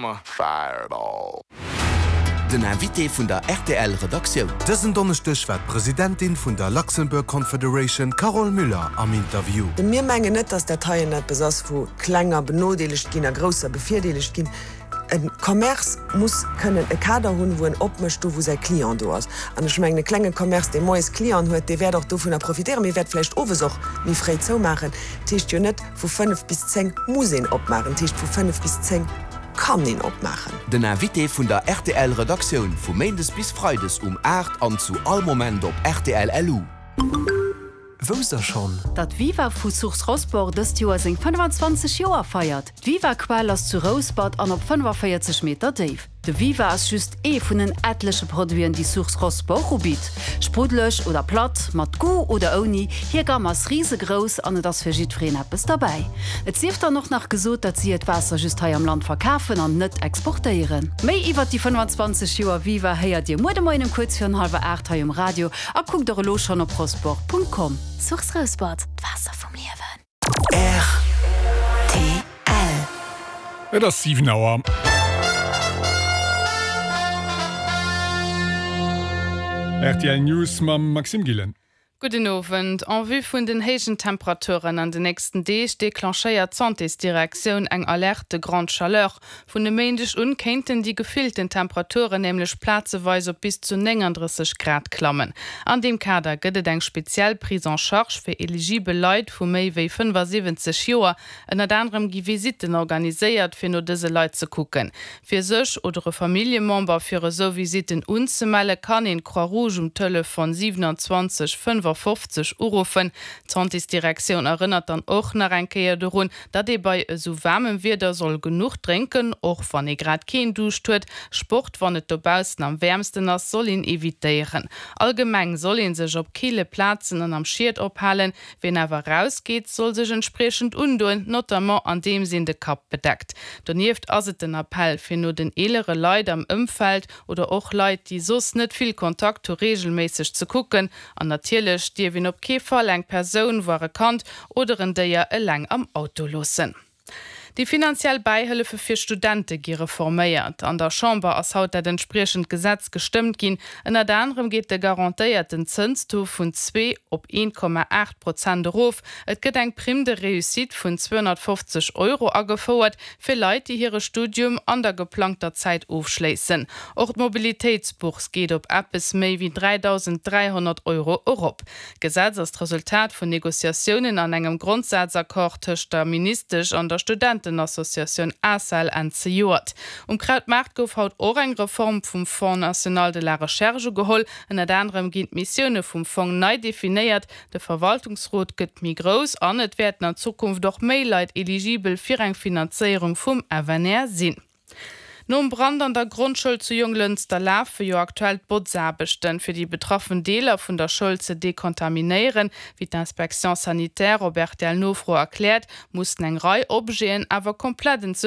I'm a fireball. Den Invité vun der rtl Redaktioun. Dësen Donneschdeg war d'Presidentin vun der Luxembourg Confederation Carole Müller am Interview. Mir mengen net, datt dat heien eppes ass, wou Klenger benodeelegt ginn a Grousser bevirdeelegt ginn. E Commerce muss kënnen e Kader hunn, wou en opmécht, do wou säi Client do ass. An ech mengen, e klenge Commerce, dee moies Clienten huet, dee wäert och dovunner profitéieren, mee wäert vläicht owes och méi fréi zoumaachen. Dat heescht jo net, vu 5 bis 10 muss een opmaachen, dat heescht, vu 5 bis 10 kann een opmaachen. Den Invité vun der rtl Redaktioun vu Méindes bis Freides um 8 an zu all Moment op rtl LU. Wousst der schonn? Datt Viva vu Source Rosport dëst Joer seng 25 Joer feiert? D'Viva-Quell ass zu Rouspert an op 45 Meter déif. De Viva ass just ee vun en etleche Produiten, déi Source Rosport ubitt. Spruddeleg oder platt, mat Goût oder ouni, hir Gamm ass risegrouss an et ass fir jiddwereen eppes derbäi. Et sief dann och nach gesot, datt si hiert Waasser just hei am Land verkafen an net exportéieren. Méi iwwert déi 25 Joer Viva héiert Dir muer de Moien um kuerz virun hallwer 8 hei um Radio a kuckt och elo schonn op rosport.com. Source Rouspert, d'Waasser vum Liewen. Rtl. Et ass 7 Auer. Rtl News mam Maxime Gillen. Gudden Owend. En vue vun den héijen Temperaturen an den nächsten Deeg declenchéiert d'Santésdirektioun eng Alerte de grande chaleur. Vun e Méindeg un kéinten déi gefillten Temperaturen nämlech plazeweis op bis zu 39 Grad klammen. An deem Kader gëtt et eng speziell Prise en charge fir eligibel Leit vu méi wéi 75 Joer. Ënnert anerem gi Visitten organiséiert, fir no dëse Leit ze kucken. Fir sech oder e Familljemember fir esou Visitten unzemelle kann een d'Croix Rouge um Telefon 27 55 uruffen. D'Santésdirektioun erënnert dann och nach eng Kéier dorun, Datt ee bei esou waarmem Wieder soll genuch drénken, och wann ee grad keen Duuscht huet. Sport, wann et dobaussen am wäermsten ass, soll een evitéieren. Allgemeng soll ee sech op kille Plazen an am Schied ophalen. Wien awer erausgeet, soll sech entspriechend undoen, notamment andeems een de Kapp bedeckt. Donieft ass et den Appell, fir no den eelere Leit am Ëmfeld oder och Leit, déi soss net vill Kontakt hu, reegelméisseg ze kucken. An natierlech dierf een op kee Fall eng Persoun, voire Kand oder en Déier eleng am Auto loossen. Déi finanziell Bäihëllefe fir Studente gi reforméiert. An der Chamber ass haut dat entspriechend Gesetz gestëmmt ginn. Ënnert anerem geet de garantéierten Zënstaux vun zwee op 1,8 Prozent erof. Et gëtt eng Prime de réussite vun 250 Euro agefouert fir Leit, déi hire Studium an der geplangter Zäit ofschléissen. Och d'Mobilitéitsbourse geet op eppes méi wéi 3.300 Euro erop. D'Gesetz ass d'Resultat vun Negociatiounen an engem Grondsazaccord tëscht der Ministesch an der Studentenassociatioun ACEL Enn zejoert. Um Krautmaart gouf haut och eng Reform vum Fonds national de la recherche ugeholl. Ënnert anerem ginn d'Missioune vum Fong nei definéiert, De Verwaltungsrot gëtt méi grouss an et wäerten an Zukunft och méi Leit eligibel fir eng Finanzéierung vum FNR sinn. Nom Brand an der Grondschoul zu Jonglënster lafe jo aktuell d'Botzaarbechten, fir déi betraffen Deeler vun der Schoul ze dekontaminéieren. Wéi d'Inspection sanitaire op RTL-Nofro erkläert, mussen eng Rei Objeten awer komplett entsuergt.